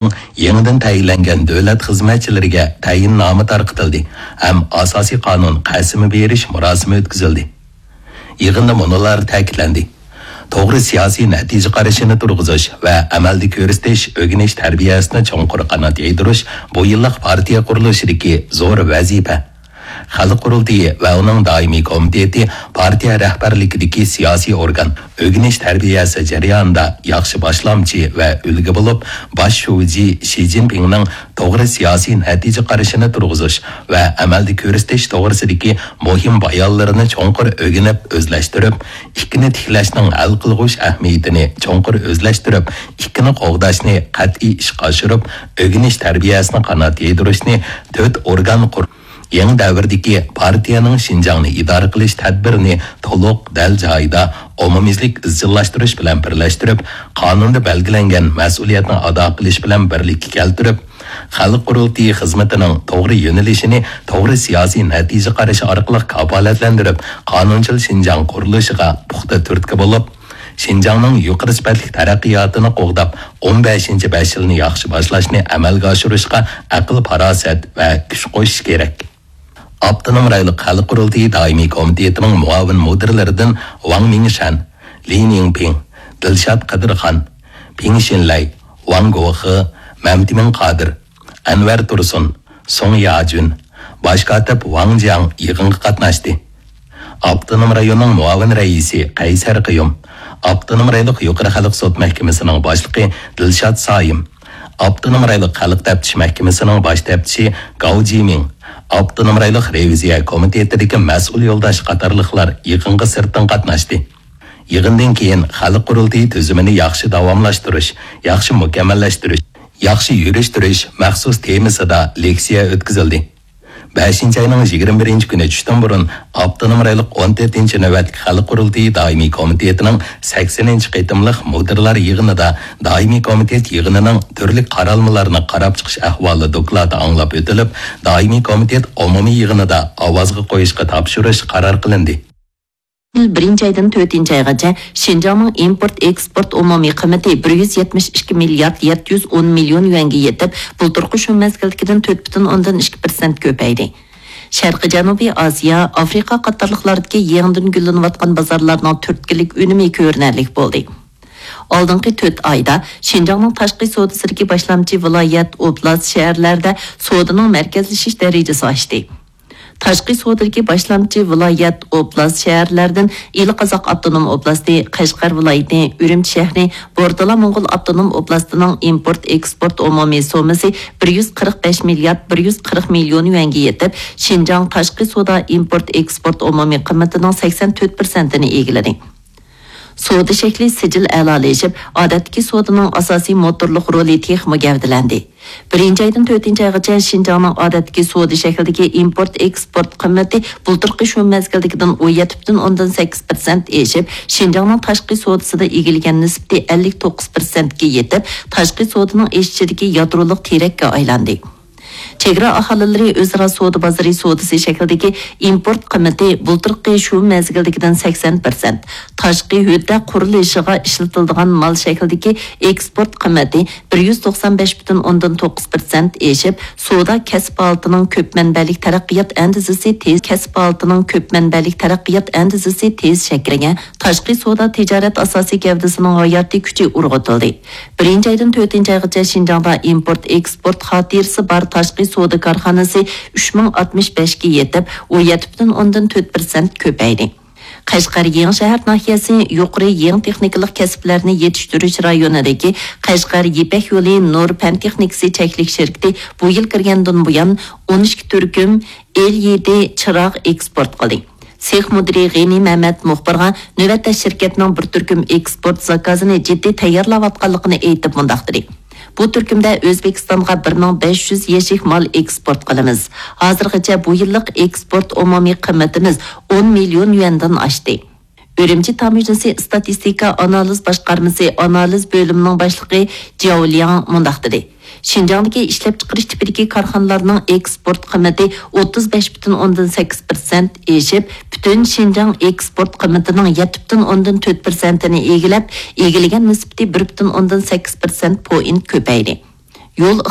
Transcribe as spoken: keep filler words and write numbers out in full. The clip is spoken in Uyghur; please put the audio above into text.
يېڭىدىن تەيىنلەنگەن دۆلەت خىزمەتچىلىرىگە تەيىننامە تارقىتىلدى ھەم ئاساسىي قانۇن قەسىمى بېرىش مۇراسىمى ئۆتكۈزۈلدى. يىغىندا مۇنۇلار تەكىتلەندى: توغرا سىياسىي نەتىجە قارىشىنى تۇرغۇزۇش ۋە ئەمەلدە كۆرسىتىش، ئۆگىنىش تەربىيەسىنى چوڭقۇر قانات يايدۇرۇش بۇ يىللىق پارتىيە قۇرۇلۇشىدىكى زور ۋەزىپە. خەلق قۇرۇلتىيى ۋە ئۇنىڭ دائىمىي كومىتېتى پارتىيە رەھبەرلىكىدىكى سىياسىي ئورگان، ئۆگىنىش تەربىيەسى جەريانىدا ياخشى باشلامچى ۋە ئۈلگە بولۇپ، باش شۇجى شى جىنپىڭنىڭ توغرا سىياسىي نەتىجە قارىشىنى تۇرغۇزۇش ۋە ئەمەلدە كۆرسىتىش توغرىسىدىكى مۇھىم بايانلىرىنى چوڭقۇر ئۆگىنىپ ئۆزلەشتۈرۈپ، ئىككىنى تىكلەشنىڭ ھەل قىلغۇچ ئەھمىيىتىنى چوڭقۇر ئۆزلەشتۈرۈپ، ئىككىنى قوغداشنى قەتئىي ئىشقا ئاشۇرۇپ، ئۆگىنىش تەربىيەسىنى قانات يايدۇرۇشنى تۆت ئورگان قۇر-، يېڭى دەۋردىكى پارتىيەنىڭ شىنجاڭنى ئىدارە قىلىش تەدبىرىنى تولۇق، دەل جايىدا، ئومۇميۈزلۈك ئىزچىللاشتۇرۇش بىلەن بىرلەشتۈرۈپ، قانۇندا بەلگىلەنگەن مەسئۇلىيەتنى ئادا قىلىش بىلەن بىرلىككە كەلتۈرۈپ، خەلق قۇرۇلتىيى خىزمىتىنىڭ توغرا يۆنىلىشىنى توغرا سىياسىي نەتىجە قارىشى ئارقىلىق كاپالەتلەندۈرۈپ، قانۇنچىل شىنجاڭ قۇرۇلۇشىغا پۇختا تۈرتكە بولۇپ، شىنجاڭنىڭ يۇقىرى سۈپەتلىك تەرەققىياتىنى قوغداپ، ئون بەشىنچى بەش يىلنى ياخشى باشلاشنى ئەمەلگە ئاشۇرۇشقا ئەقىل-پاراسەت ۋە كۈچ قوشۇش كېرەك. ئاپتونوم رايونلۇق خەلق قۇرۇلتىيى دائىمىي كومىتېتىنىڭ مۇئاۋىن مۇدىرلىرىدىن ۋاڭ مىڭشەن، لى نىڭپىڭ، دىلشات قەدىرخان، پىڭ شىنلەي، ۋاڭ گوخې، مەمتىمىن قادىر، ئەنۋەر تۇرسۇن، سۇڭ ياجۈن، باش كاتىپ ۋاڭ جياڭ يىغىنغا قاتناشتى. ئاپتونوم رايوننىڭ مۇئاۋىن رەئىسى قەيسەر قىيۇم، ئاپتونوم رايونلۇق يۇقىرى خەلق سوت مەھكىمىسىنىڭ باشلىقى دىلشات سايىم، ئاپتونوم رايونلۇق خەلق تەپتىش مەھكىمىسىنىڭ باش تەپتىشى گاۋ جىمىڭ، ئاپتونوم رايونلۇق رېۋىزىيە كومىتېتىدىكى مەسئۇل يولداش قاتارلىقلار يىغىنغا سىرتتىن قاتناشتى. يىغىندىن كېيىن خەلق قۇرۇلتىيى تۈزۈمىنى ياخشى داۋاملاشتۇرۇش، ياخشى مۇكەممەللەشتۈرۈش، ياخشى يۈرۈشتۈرۈش مەخسۇس تېمىسىدا لېكسىيە ئۆتكۈزۈلدى. بەشىنچى ئاينىڭ يىگىرمە بىرىنچى كۈنى چۈشتىن بۇرۇن ئاپتونوم رايونلۇق ئون تۆتىنچى نۆۋەتلىك خەلق قۇرۇلتىيى دائىمىي كومىتېتىنىڭ سەكسىنىنچى قېتىملىق مۇدىرلار يىغىنىدا دائىمىي كومىتېت يىغىنىنىڭ تۈرلۈك قارالمىلارنى قاراپ چىقىش ئەھۋالى دوكلاتى ئاڭلاپ ئۆتۈلۈپ، دائىمىي كومىتېت ئومۇمىي يىغىنىدا ئاۋازغا قويۇشقا تاپشۇرۇش قارار قىلىندى. يىل بىرىنچى ئايدىن تۆتىنچى ئايغىچە شىنجاڭنىڭ ئىمپورت ئېكسپورت ئومۇمىي قىممىتى بىر يۈز يەتمىش ئىككى مىليارد يەتتە يۈز ئون مىليون يۈەنگە يېتىپ، بۇلتۇرقى شۇ مەزگىلدىكىدىن تۆت پۈتۈن ئوندىن ئىككى پىرسەنت كۆپەيدى. شەرقىي جەنۇبىي ئاسىيا، ئافرىقا قاتارلىقلاردىكى يېڭىدىن گۈللىنىۋاتقان بازارلارنىڭ تۈرتكىلىك ئۈنۈمى كۆرۈنەرلىك بولدى. ئالدىنقى تۆت ئايدا شىنجاڭنىڭ تاشقى سودىسىدىكى باشلامچى ۋىلايەت، ئوبلاست، شەھەرلەردە سودىنىڭ مەركەزلىشىش دەرىجىسى ئاشتى. تاشقى سودىدىكى باشلامچى ۋىلايەت، ئوبلاست، شەھەرلەردىن ئىلى قازاق ئاپتونوم ئوبلاستى، قەشقەر ۋىلايىتى، ئۈرۈمچى شەھىرى، بورتالا موڭغۇل ئاپتونوم ئوبلاستىنىڭ ئىمپورت ئېكسپورت ئومۇمىي سوممىسى بىر يۈز قىرىق بەش مىليارد بىر يۈز قىرىق مىليون يۈەنگە يېتىپ، شىنجاڭ تاشقى سودا ئىمپورت ئېكسپورت ئومۇمىي قىممىتىنىڭ سەكسەن تۆت پىرسەنتىنى ئىگىلىدى. سودا شەكلى سىجىل ئەلالىشىپ، ئادەتتىكى سودىنىڭ ئاساسىي موتورلۇق رولى تېخىمۇ گەۋدىلەندى. بىرىنچى ئايدىن تۆتىنچى ئايغىچە شىنجاڭنىڭ ئادەتتىكى سودا شەكلىدىكى ئىمپورت ئېكسپورت قىممىتى بۇلتۇرقى شۇ مەزگىلدىكىدىن ئون يەتتە پۈتۈن ئوندىن سەككىز پىرسەنت ئېشىپ، شىنجاڭنىڭ تاشقى سودىسىدا ئىگىلىگەن نىسبىتى ئەللىك توققۇز پىرسەنتكە يېتىپ، تاشقى سودىنىڭ ئېشىشىدىكى يادرولۇق تىرەككە ئايلاندى. چېگرا ئاھالىلىرى ئۆزئارا سودا بازىرى سودىسى شەكلىدىكى ئىمپورت قىممىتى بۇلتۇرقى شۇ مەزگىلدىكىدىن سەكسەن پىرسەنت، تاشقى ھۆددە قۇرۇلۇشىغا ئىشلىتىلىدىغان مال شەكلىدىكى ئېكسپورت قىممىتى بىر يۈز توقسان بەش پۈتۈن ئوندىن توققۇز پىرسەنت ئېشىپ، سودا كەسىپ ھالىتىنىڭ كۆپ مەنبەلىك تەرەققىيات ئەندىزىسى تېز، كەسىپ ھالىتىنىڭ كۆپ مەنبەلىك تەرەققىيات ئەندىزىسى تېز شەكىللەنگەن، تاشقى سودا تىجارەت ئاساسىي گەۋدىسىنىڭ ھاياتىي كۈچى ئۇرغۇتۇلدى. بىرىنچى ئايدىن تۆتىنچى ئايغىچە شىنجاڭدا ئىمپورت ئېكسپورت خاتىرىسى بار تاشقى سودا كارخانىسى ئۈچ مىڭ ئاتمىش بەشكە يېتىپ، ئون يەتتە پۈتۈن ئوندىن تۆت پىرسەنت كۆپەيدى. قەشقەر يېڭىشەھەر ناھىيەسى يۇقىرى يېڭى تېخنىكىلىق كەسىپلەرنى يېتىشتۈرۈش رايونىدىكى قەشقەر يىپەك يولى نۇر پەن تېخنىكىسى چەكلىك شىركىتى بۇ يىل كىرگەندىن بۇيان ئون ئىككى تۈركۈم ئېل يىدى چىراغ ئېكسپورت قىلدى. سېخ مۇدىرى غېنى مەمەت مۇخبىرغا نۆۋەتتە شىركەتنىڭ بىر تۈركۈم ئېكسپورت زاكازىنى جىددىي تەييارلاۋاتقانلىقىنى ئېيتىپ مۇنداق دېدى: بۇ تۈركۈمدە ئۆزبېكىستانغا بىر مىڭ بەش يۈز يەشىك مال ئېكسپورت قىلىمىز. ھازىرغىچە بۇ يىللىق ئېكسپورت ئومۇمىي قىممىتىمىز ئون مىليون يۈەندىن ئاشتى. ئۈرۈمچى تاموژنىسى ئىستاتىستىكا ئانالىز باشقارمىسى ئانالىز بۆلۈمىنىڭ باشلىقى جياۋ لياڭ مۇنداق دېدى: شىنجاڭدىكى ئىشلەپچىقىرىش تىپىدىكى كارخانىلارنىڭ ئېكسپورت قىممىتى ئوتتۇز بەش پۈتۈن ئوندىن سەككىز پىرسەنت ئېشىپ، پۈتۈن شىنجاڭ ئېكسپورت قىممىتىنىڭ يەتتە پۈتۈن ئوندىن تۆت پىرسەنتىنى ئىگىلەپ، ئىگىلىگەن نىسبىتى بىر پۈتۈن ئوندىن سەككىز پىرسەنت پوينت كۆپەيدى. يول